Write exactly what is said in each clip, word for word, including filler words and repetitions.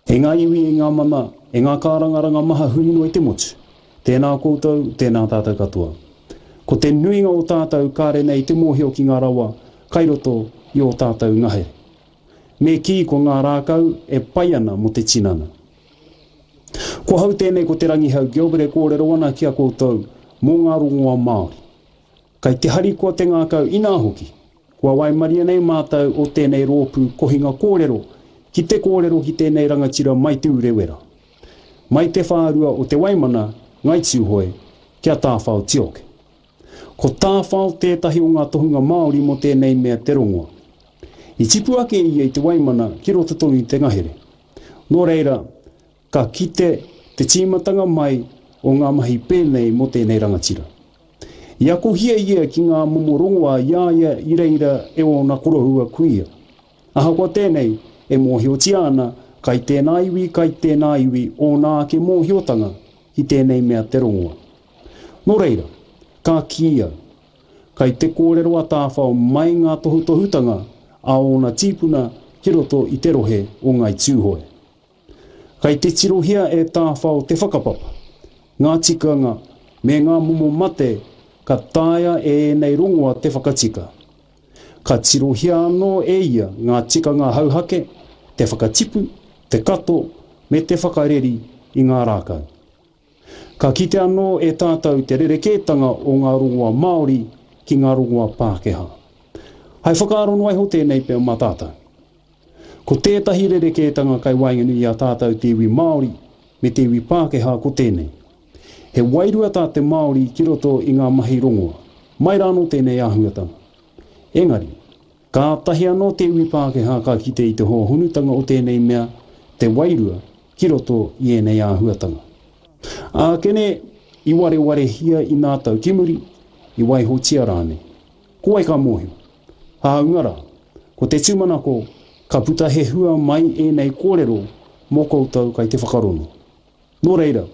E ngā iwi, e ngā mana, e ngā kārangaranga maha huri noa i te motu. Tēnā koutou, tēnā tātou katoa. Ko te nuinga o tātou kāre nei te mōhio ki ngā rawa kai roto i ō tātou ngahere. Me kī ko ngā rākau e pai ana mō te tinana. Ko hau tēnei ko Te Rangihau Gilbert e kōrero ana ki a koutou mō ngā rongoa Māori. Kai te harikoa te ngākau inā hoki, kua waimaria nei mātou o tēnei rōpū kohinga kōrero ki te kōrero ki tēnei rangatira mai Te Urewera. Mai te whārua o Te Waimana, Ngai Tūhoe, kia Tāwhao Tioke. Ko Tāwhao tētahi o ngā tohunga Māori mō tēnei mea te rongoa. I tipu ake ia i Te Waimana ki roto tonu i te ngahere. Nō reira, ka kite te tīmatanga mai o ngā mahi pēnei mō tēnei rangatira. I akohia ia ki ngā momo rongoa i a ia i reira e ōna koroua kuia. Ahakoa tēnei, e mōhiotia ana, kai tēnā iwi, kai tēnā iwi ōna ake mōhiotanga ki tēnei mea te rongoa. Nō reira, ka kī au, kai te kōrero a Tāwhao mai ngā tohutohutanga a ōna tīpuna ki roto i te rohe o Ngai Tūhoe. Kai te tirohia e Tāwhao te whakapapa, ngā tikanga me ngā momo mate ka taea e ēnei rongoa te whakatika. Ka tirohia anō e ia ngā tikanga hauhake, te whakatipu, te kato me te whakareri i ngā rākau. Ka kite anō e tātou te rerekētanga o ngā rongoa Māori ki ngā rongoa Pākehā. Hai whakaaro noa iho tēnei pea mā tātou. Ko tētahi rerekētanga kai waenganui i a tātou te iwi Māori me te iwi Pākehā ko tēnei. He wairua tā te Māori ki roto i ngā mahi rongoa. Mai rānō tēnei āhuatanga. Engari, kātahi anō te iwi Pākehā ka kite i te hōhonutanga o tēnei mea, te wairua, ki roto i ēnei āhuatanga. Ākene, i warewarehia i nā tau ki muri, i waihotia rānei. Ko wai ka mōhio? Hāunga rā, ko te tūmanako ka puta he hua mai ēnei kōrero mō koutou kai te whakarongo. Nō reira,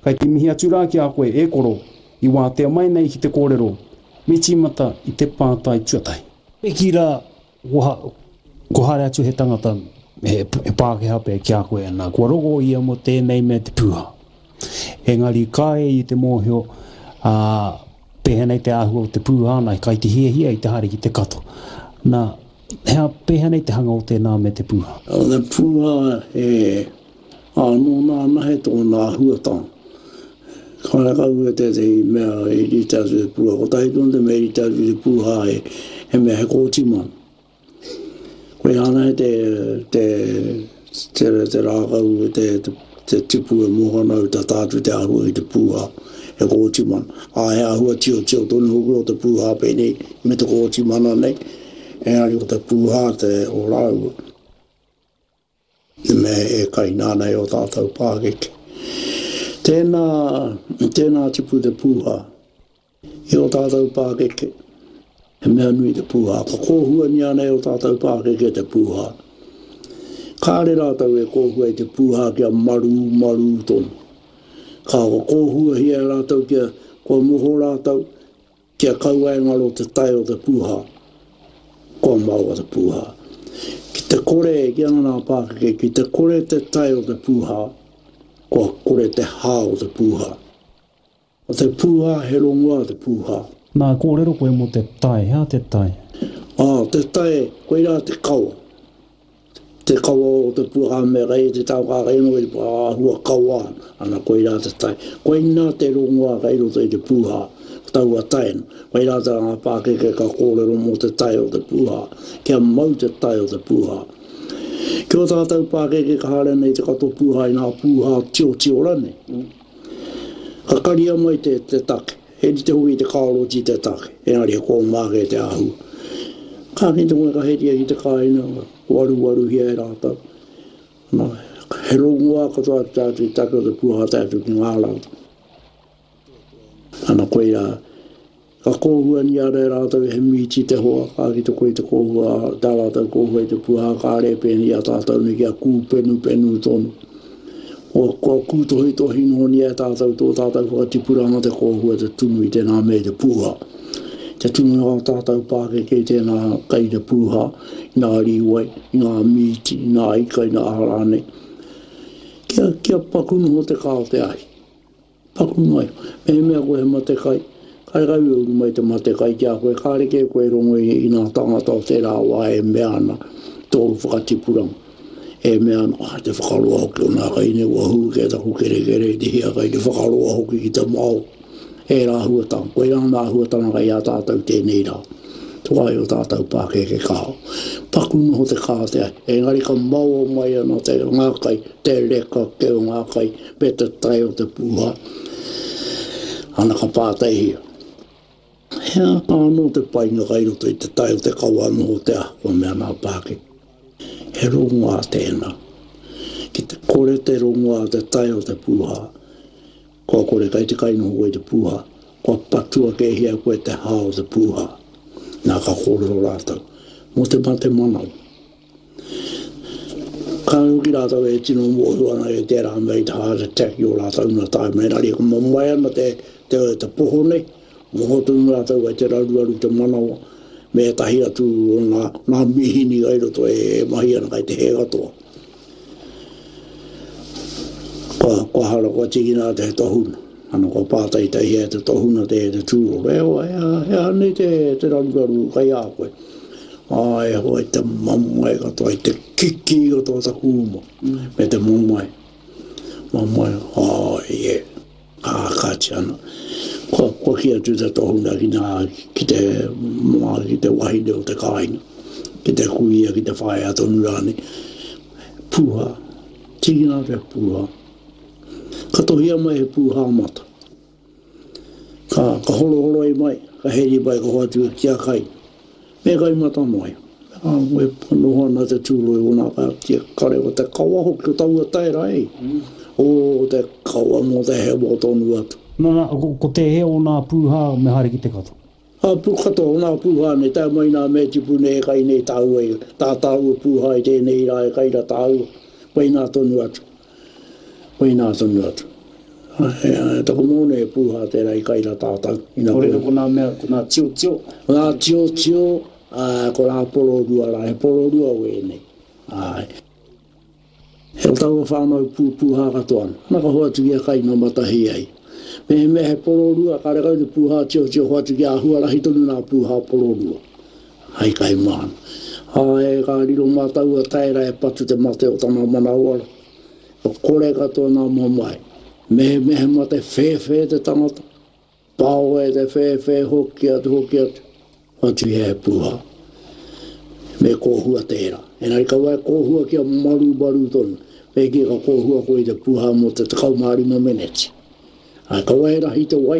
kai te mihi atu rā ki a koe e koro i wātea mai nei ki te kōrero, me tīmata i te pātai tuatahi. Me kī rā, kua haere atu he tangata, he Pākehā pea ki a koe, nā, kua rongo ia mō tēnei mea te pūhā. Engari kāre i te mōhio, ā, pēhea nei te āhua o te pūhā, nā, kai te hiahia i te haere ki te kato. Nā, he aha, pēhea nei te hanga o tēnā me te pūhā? O te pūhā, he, ā, nōna anahe tōna āhuatanga. Kārekau e tētehi mea i rite atu te pūhā. Kotahi tonu te mea i rite atu te pūhā, he, he mea he kōtimana. Koia anahe te, te, te, te rākau, te, te, te tipu e moho ana au tata atu te āhua ki te pūhā, he kōtimana. Ā, he āhua tiotio tonu hoki o te pūhā pēnei me te kōtimana nei, engari ko te pūhā te o rāua. Te mea e kaina ana e o tātou pākeke. Tēnā, tēnā tipu te pūhā. I ō tātou pākeke, he mea nui te pūhā. Ka kōhuania ana e ō tātou pākeke te pūhā. Kāre rātou e kōhua i te pūhā kia marū, marū tonu. Ka kōhuahia e rātou kia, kua moho rātou, kia kaua e ngaro te tae o te pūhā. Kua maoa te pūhā. Ki te kore, ki ana nā pākeke, ki te kore te tae o te pūhā, kua kore te hā o te pūhā. Ko te pūhā, he rongoā te pūhā. Nā, kōrero koe mō te tae, hea te tae? Ā, te tae, koirā te kawa. Te kawa o te pūhā me kei te tau ka kei noa i te āhua kawa ana, ana koirā te tae. Koinā te rongoā kei roto i te pūhā, ko taua tae na. Koirā tā ngā pākeke ka kōrero mō te tae o te pūhā, kia mau te tae o te pūhā. Ki ō tātou pākeke ka haere nei te kato pūhā i ngā pūhā tiotio ranei. Ka karia mai te, te take. He rite hoki te karoti te take, engari he kōmā kē te āhua. Ka kite koe ka heria ki te kāinga, waruwaruhia e rātou. Nā, he rongoā katoa atu tātou i take o te puaha tae atu ki ngā rau. Ana koirā, Ka kōhuangia ana e rātou he mīti te hoa, ka kite koe i te kōhua, tā rātou kōhua i te puaha kāre e pēnei i a tātou nei kia kūpenupenu tonu. Kua, kua kūtohitohi nohonia e tātou tō tātou whakatipuranga te kōhua te tunu i tēnā mea i te puha. Te tunu i ngā tātou pākeke i tēnā kai te puha, i ngā rīwai, i ngā mīti, i ngā ika, i ngā aha rānei. Kia, kia paku noho te kā o te ahi. Paku noa iho. Mehemea koe he mate kai, karekau e uru mai te mate kai ki a koe, kāre kē koe rongo i, i ngā tāngata o tērā wā e mea ana tōu whakatipuranga. E mea ana, ah, te whakaroa hoki o nā kai nei, ua hū kē taku kerekere i te hiakai, te whakaroa hoki ki te mao. Ērā āhuatanga, koirā ngā āhuatanga kai a tātou tēnei rā. Te wā i o tātou pākeke kaha. Paku noho te kā te ahi, engari ka maoa mai ana te ngā kai, te reka kē o ngā kai, me te tae o te pūhā. Ana ka pātaihia. He aha anō te painga kai roto i te tae o te kawa noho te aha, kua mea nā pākeke. He rongoā tēnā. Ki te kore te rongoā te tae o te pūhā, kua kore kai te kainoho koe i te pūhā, kua patua kēhia koe te hā o te pūhā. Nā ka kōrero rātou mō te mate manawa. Kāore hoki rātou e tino mōhio ana e tērā mea i te heart attack i ō rātou nā tae mai engari ka mamae ana te, te, te poho nei, moho tonu rātou kai te raruraru te manawa me ētahi atu o ngā, ngā mīhini kai roto e, e mahi ana kai te hē katoa. Kua, kua hara, kua tīkina atu he tohuna. Ana kua pātaitaihia e te tohuna te, te tūroro. E hoa, he aha, he aha nei te, te raruraru kai a koe? Ā, e hoa, i te mamae katoa, i te kikī katoa taku uma, me te mamae. Mamae, ā, e, ā, kāti ana. Kua, kua kī atu te tohuna ki nā, ki te, mā, ki te wahine o te kāinga, ki te kuia, ki te whaea tonu rānei. Pūhā, tīkina atu he pūhā. Ka tohia mai he pūhā mata. Ka, ka horohoroi mai, ka heri mai, ka hoatu ki a kai. Me kai mata noa iho. Ā, e noho ana te tūroi o nā ka tia kare o te kawa hoki o taua taera e. O te kawa mō te hewa tonu atu. Nana, ko, ko tēhea o nā pūhā me haere ki te kato? Ā, pū katoa o nā pūhā nei, tae mai nā mea tipu nei e kai nei tāua i, tā tāua pūhā i tēnei rā e kai ra tāua, koinā tonu atu. Koinā tonu atu. He taku mōne e pūhā tērā i kai rā tātou. Nō reira ko nā mea, ko nā tiotio. Ko nā tiotio, ko nā pororua rā, he pororua wēnei. Āe. He o taua whānau pū, pūhā katoa ana. Ana ka hoatu ki a kai nō Matahi ai. Mehemea he pororua, karekau te pūhā tiotio hoatu ki a huarahi tonu nā pūhā pororua. Hai kai māna. Āe, ka riro mā taua taera e patu te mate o tana manawa. Kua kore katoa ngā mamae. Mehemea he mate whēwhē te tangata, pao e te whēwhē hoki atu hoki atu, hoatu ia he pūhā. Me kōhua tērā. Engari kaua e kōhua kia marumaru tonu. Me kī ka kōhua koe i te pūhā mō te tekau mā rima meneti. Ā, kaua e rahi te wai,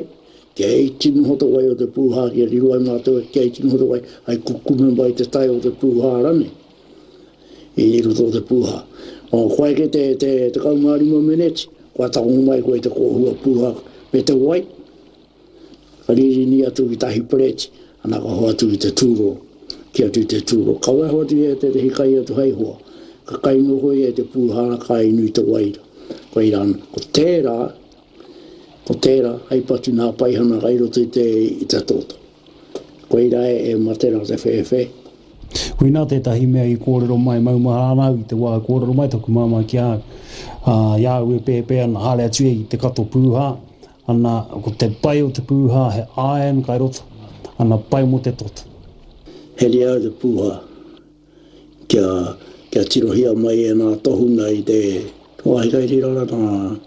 kia iti noho te wai o te pūhā, kia riro ai mātou kia iti noho te wai, hai kukume mai te tae o te pūhā rānei. I roto o te pūhā. O, kua eke te, te tekau mā rima meneti, kua tango mai koe i te kōhua pūhā me te wai, ka ririni atu ki tahi pereti, ana ka hoatu ki te tūroro, ki atu i te tūroro. Kaua e hoatu ia e tētehi kai atu hei hoa, ka kai noho ia i te pūhā, ka inu i te waira. Koirā ana. Ko tērā, ko tērā, hei patu nā paihana kai roto i te, i te toto. Koirā e, e mate rā te whēwhē. Koinā tētahi mea i kōrero mai, maumahara ana au i te wā i kōrero mai taku māmā ki a au, ā, i a au e pēpē ana, haere atu ia i te kato pūhā, ana, ko te pai o te pūhā he iron kai roto, ana, pai mō te toto. Heria au te pūhā, kia, kia tirohia mai e nā tohunga i te wāhi kai reira rā nā,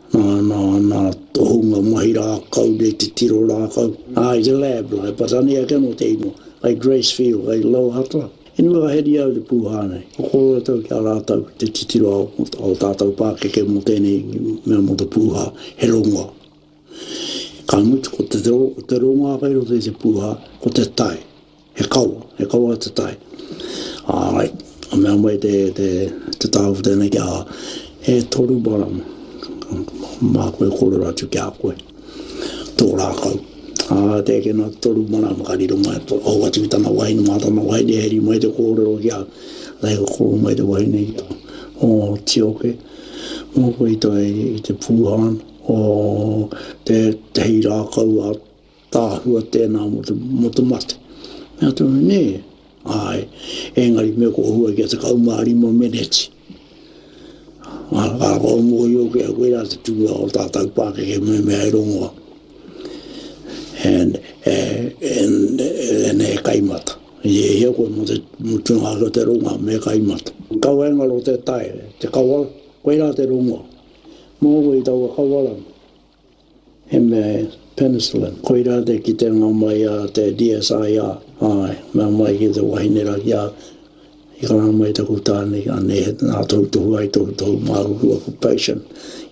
Nā, nā, nā tohunga mahi rākau nei te tiro rākau. Ā, i te lab la, e Patani ake anō te ingoa, kai Gracefield, kai Lower Hutt la. Anyway, ka heri au te pūhā nei. Ko kōrero atu ki a rātou ki te titiro a o tātou pākeke mō tēnei mea mō te pūhā, he rongoa. Ka mutu, ko te, ko te rongoa kai roto i te pūhā, ko te tae. He kawa, he kawa te tae. Āe, ka mea mai te, te, te tāu tēnei ki a, e toru marama, māku e kōrero atu ki a koe, tō rākau. Ā, te eke nā te toru marama ka riro mai, hou atu ki tana wahine, mā tana wahine e heri mai te kōrero ki a, rei ka kōrero mai te wahine ki a, o Tioke, mō koe i te, i te pūhāna, o te, te hei rākau a Tāhua tēnā mō te, mō te mate. Mea atu, nē, āe, engari me kōhua kia tekau mā rima meneti. Ka kua mōhio ki a koe rā te tūnga o tātou pākeke me mea e rongoa. And, and, and he kaimata. I e hia koe mō te mutunga ake o te rongoa me kaimata. Kaua e ngaro te tae, te kawara, koirā te rongoa. Mō koe i taua kawara, he mea penicillin. Koirā te kitenga mai a te D S I R, āe, mea mai ki te wahine rā ki a, i karanga mai taku tāne, anei he nā tohutohu ai tohutohu māku aku patient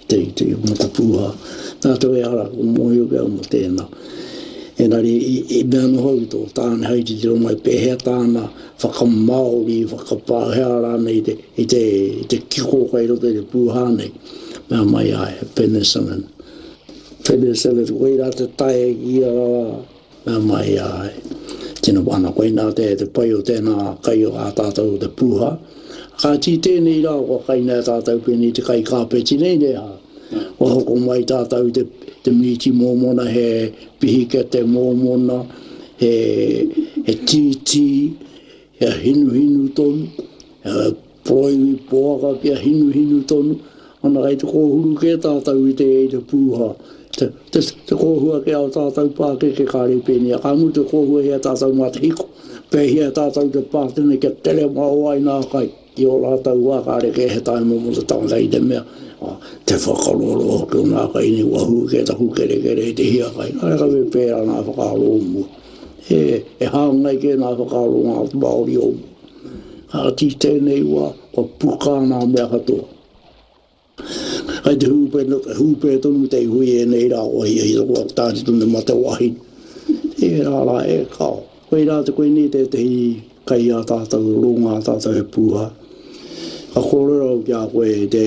i te, i te mokopūhā. Nā te wea ara, ko mōhio ki au mō tēnā. Engari, i, i mea noho i tō tāne hai titiro mai pēhea tāna whakamāori, whakapāhea rānei i te, i te, i te kiko kai roto i te pūhā nei. Mea mai ai, he penicillin. Penicillin, koirā te tae ki ia rā, mea mai ai. Tino ana, koinā te, te pai o tēnā kai o ā tātou o te pūhā. Ka tī tēnei rā, kua kainā tātou pēnei te kai kāpeti nei, ne hā. Kua hoko mai tātou te, te mīti mōmona, he pihikete mōmona, he, he tītī, he hinuhinu tonu, he poroiwi poaka kia hinuhinu tonu. Ana kai te kōhuru kē tātou i te, i te pūhā. Te, te, te kōhua ke ao tātou pākeke kāre pēnei. Ka mutu te kōhua hea tātou mā te hiko. Pēhia tātou te pātene kia tere mao ai nā kai. I o rātou wā kāre kē he taima mō te tangata i te mea. Te whakaroro hoki o nā kai nei wahū kē taku kerekere i te hiakai. Kāre ka me pērā nā whakaaro o mua. E, e hāngai kē nā whakaaro ngā Māori o mua. Ka tī tēnei wā, kua puka nā mea katoa. Kai te hūpē, hūpē tonu te hui e nei rā, o hia hia kua tāti tonu mate wahi. Tērā rā e kao. Koe rā te koe nei tētehi kai a tātou, ronga a tātou he pūhā. Ka kōrero au ki a koe te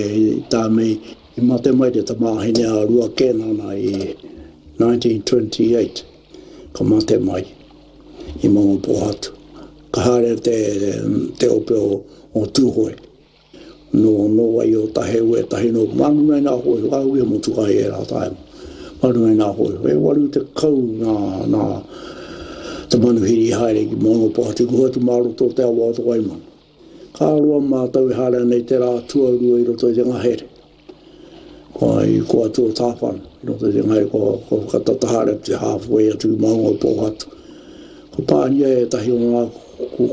tāmei, i mate mai te tamāhine a Rua Kēnana i nineteen twenty-eight. Ka mate mai i Maungapōhatu. Ka haere te, te ope o, o Tūhoe. No, no wai o tahe ue tahi no manu nei nā hoi, wā ue motu kai e rā taima. Manu nei nā hoi, e waru te kau nā, nā te manuhiri haere ki Maungapōhatu, ku atu mā roto te awa o te Waimana. Ka roa mātou e haere nei te rā tuarua i roto i te ngahere. Kua i kua atu o tāwhana, i roto i te ngahere, kua, kua whakatata haere te halfway atu ki Maungapōhatu. Ko pānia e tahi o ngā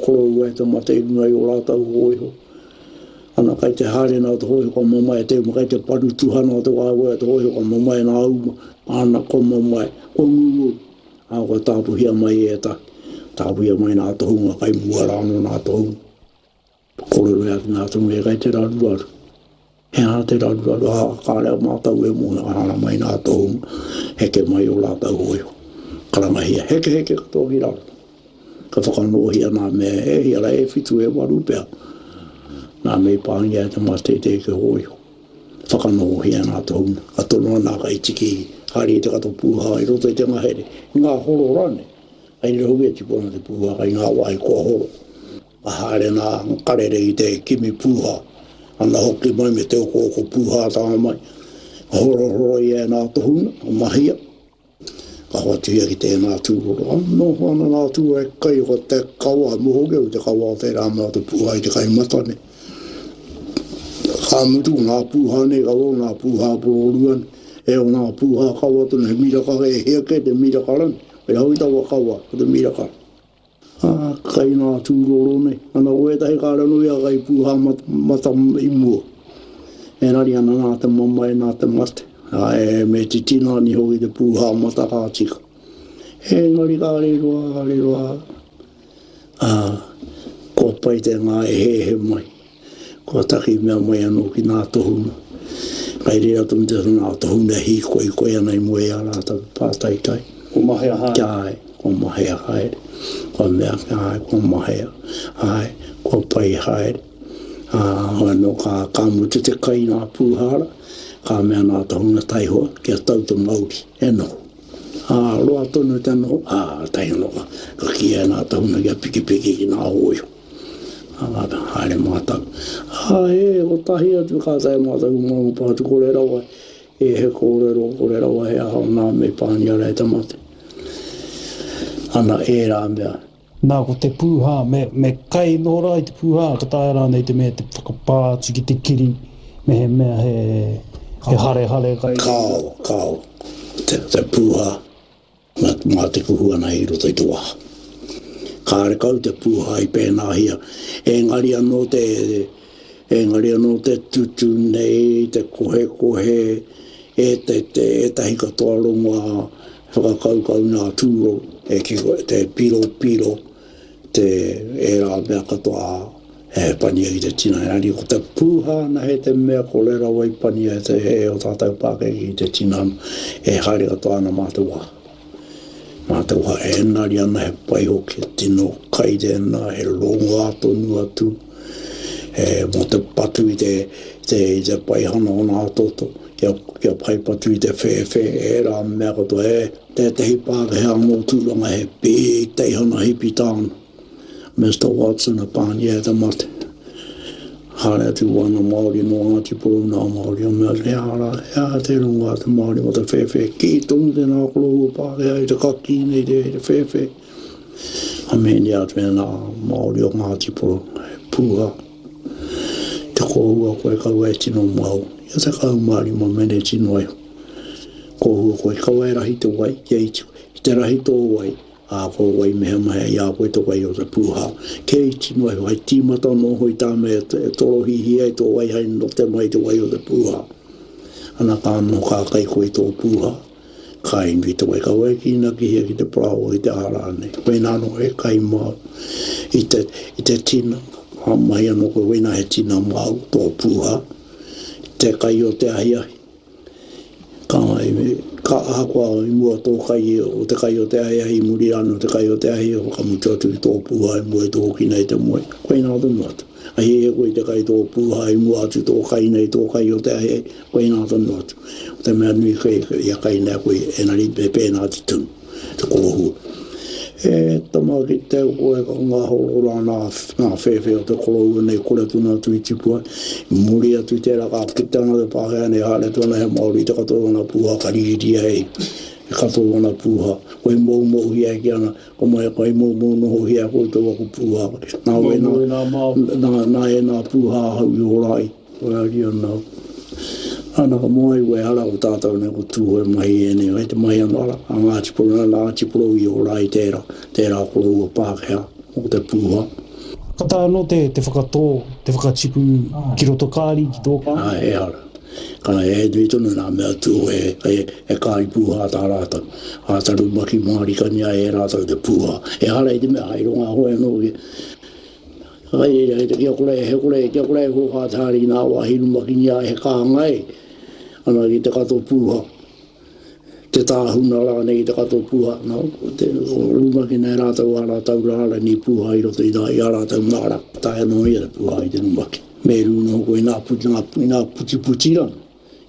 koroua e te mate i runga i o rātou hōiho. Ana kai te haere nā te hōiho ka mamae te uma, kai te paru tuhana o te waewae o te hōiho ka mamae nā uma, ana ko mamae, ko ngungu, a kua tāpuhia mai e tahi, tāpuhia mai nā tohunga, kai mua rāno nā tohunga. Kōrero e atu nā tohunga e kai te raruraru. He aha te raruraru, a kāre a mātou e mōhio, ka hara mai nā tohunga, heke mai o rātou hōiho. Karangahia, heke heke katoa ki raro. Ka whakanōhia nā mea e hia rā e whitu e waru pea. Nā mei pāngia e te mate i te eke hōiho. Whakanōhia nā tohunga. Ka tonoa nā kai tiki haere i te kato pūhā i roto i te ngahere. I ngā horo rāne. Kai rira hoki e tipu ana te pūhā kai ngā wāhi kua horo. Ka haere nā karere i te kimi pūhā. Ana hoki mai me te oko oko pūhā tanga mai. Ka horohoro ia e nā tohunga, ka mahia. Ka hoatuhia ki tēnā tūroro. Noho ana nā tūroro e kai o te kawa, moho ki au te kawa o tērā mea o te pūhā i te kai matane. Ka mutu ngā pūhā nei, ka o ngā pūhā pororua nei, e o ngā pūhā kawa tonu, he miraka e hea kē te miraka rani. Koe hau i taua kawa, ko te miraka. Ā, kai ngā tūroro nei. Ana ko ētahi kāre anō ia kai pūhā mat, mata i mua. Engari ana nā te mamae, nā te mate. Ā, e, me titina ni hoki te pūhā mata ka tika. Engari kāre roa, kāre roa. Ā, kua pai te ngā e hehe mai. Kua taki mea mai anō ki nā tohunga. Kai reira tonu te nā tohunga hīkoi koe ana i mua i a rātou pātaitai. Ko mahea haere. Kia ai, ko mahea haere. Kua mea, kia ai, ko mahea. Ai, kua pai haere. Ā, anō ka, ka mutu te kai nā pūhara, ka mea nā tohunga taihoa, kia tau te mauri, e noho. Ā, roa tonu te noho, ā, taihoa ka, ka kīia nā tohunga kia pikipiki ki nā hōiho. Ā, haere mātou. Ā, e, kotahi atu ka tae mātou ki Maungapōhatu, kore rawa e he kōrero, kore rawa he aha o nā me pānia rā e te mate. Ana ērā mea. Nā, ko te pūhā, me, me kai noho rā i te pūhā, ka taea rānei te mea te whakapā atu ki te kiri, Mehemea he, he harehare kai. Kao, kao, te, te pūhā, mā, mā te kuhu ana i roto i te waha. Kāre kau te pūhā i pēnāhia. Engari anō te, engari anō te tutu nei, te kohekohe, e te, te, ētahi katoa rongoā whakakaukau nā tūro, e kiko, te piro piro, te ērā mea katoa e pania i te tinana. Engari ko te pūhā anahe te mea kore rawa i pania e te e o tātou pākeke i te tinana, e haere katoa ana mā te waha. Mā te waha, engari ana he pai hoki, he tino kai tēnā, he rongoā tonu atu, e mō te patu i te, te, i te paihana o nā toto, kia, kia pai patu i te whēwhē, ērā mea katoa, e tētehi Pākehā mō Tūranga he big teihana hipi tāna. Mister Watson a pānia e te mate. Haere atu wana Māori nō Ngāti Porou nā Māori o mea, he aha rā, he aha te rongoā te Māori mō te whēwhē, kī tonu tēnā koroua Pākehā i te kakī nei te, te whēwhē. Ka mehenia atu e nā Māori o Ngāti Porou, he pūha. Te kōhua koe kaua e tino mau, ia tekau mā rima meneti noa iho. Kōhua koe kaua e rahi te wai, kia iti, ki te rahi tō wai, ā, ko wai mehemehea i a koe te wai o te pūhā. Kia iti noa iho, hai tīmata anō hoi tā mea e torohihia ai tō wai hai note mai te wai o te pūhā. Ana ka anō ka kai koe i tō pūhā, ka inu i te wai, kaua e kīnakihia ki te parāoa ki te aha rānei. Koinā anō he kai māu i te, i te tina, ka mahi anō koe, koinā he tina māu tō pūhā, te kai o te ahiahi. Ka, ka ahakoa i mua tō kai o te kai o te ahiahi, i muri rānei o te kai o te ahiahi, whakamutu atu i tō pūhā i mua i tō hoki nei te moe. Koinā tonu atu. A hiahia koe i te kai tō pūhā i mua atu tō kai nei tō kai o te ahiahi, koinā tonu atu. Ko te mea nui koe, ia kai nei koe, engari me pēnā te tunu, te kōhua. E tama ki te koe ka ngahoro rā nā, nā whēwhē o te koroua nei kore tonu atu i tipu ai. I muri atu i tērā ka kite ana te Pākehā nei haere atu ana he Māori te katoa o ana pūhā ka ririria e e katoa o ana pūhā. Koe moumouhia e ki ana, ko mai koe moumou nohohia e koutou aku pūhā. Nā wai nā, nā, nā ēnā pūhā ahau i ora ai. Koe ari ana, ana ka moe koe ara ko tātou nei ko Tūhoe mahi ēnei, kai te mahi anō ara, a Ngāti Porou, nā Ngāti Porou i ora ai tērā, tērā koroua Pākehā mō te pūhā. Ka taea anō te, te whakatō, te whakatipu ki roto kāri, ki tō kāri? Āe, ehara. Ka e nui tonu nā mea Tūhoe, e, e kāri pūhā tā rātou. Āta rumaki mārikania e rātou te pūhā. Ehara i te mea, hai ronga hoi anō ki, Kai reira, he kia kore, he kore, kia kore e hōhā te haere ki nā wāhi rumakingia he kānga e, ana ki te kato pūha, te tāhuna rānei ki te kato pūha, nā, te, rumakina e rātou ā rātou rārani pūha i roto i, i ā rātou māra, taea noa ia te pūha i te rumaki. Me rū noho koe i nā puti, nā, i nā putiputi rā,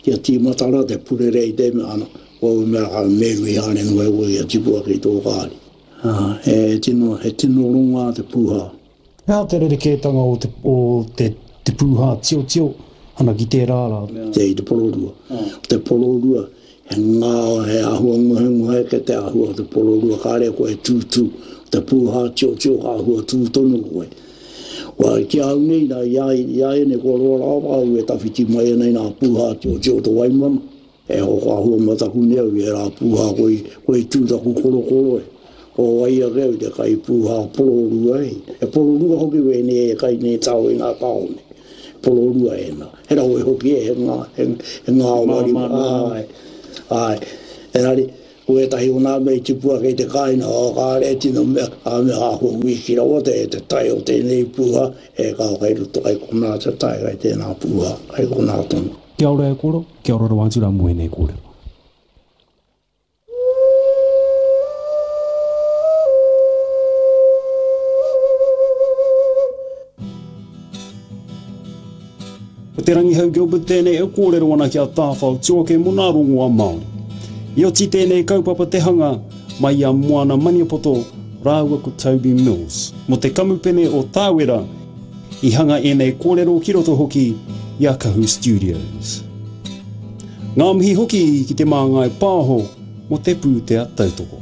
kia tīmata rā te purere i te mea, ana, ko au mea ka meru i haere noa e koe kia tipu ake i tō kāri. Ā, he tino, he tino rongoā te pūha. He aha te rerekētanga o te, o te, te pūhā tiotio ana ki tērā rā? Te i te pororua. Ko te pororua, he ngā, he āhua ngohengohe ake te āhua o te pororua, kāre koe e tūtū. Ko te pūhā tiotio ka āhua tū tonu koe. Kua, ki a au nei, nā, i a, i a ēnei kua roa rawa au e tawhiti mai ana i ngā pūhā tiotio o te Waimana. E hoko āhua mataku nei au i ērā pūhā koi, koi tū taku korokoro e. Ko wai ake au te kai pūhā pororua e. E pororua hoki wēnei e kai nei tāo i ngā tāone. Pororua ēnā. He rawe hoki e, he ngā, he, he ngāwari. Āe, āe. Engari, ko ētahi o nā mea i tipu ake i te kāinga, oh, kāre e tino mea, ka mea āhua wīki rawa te, te tae o tēnei pūhā, e kao kai roto kai konā te tae kai tēnā pūhā, kai konā tonu. Kia ora e koro, kia ora rawa atu rā mō ēnei kōrero. Ko Te Rangihau Gilbert tēnei e kōrero ana ki a Tāwhao Tuake mō nā rongoā Māori. I oti tēnei kaupapa te hanga mai i a Moana Maniapoto rāua ko Toby Mills. Mō te kamupene o Tāwera i hanga ēnei kōrero ki roto hoki i a Kahu Studios. Ngā mihi hoki ki te Māngai Pāho mō te pūtea tautoko.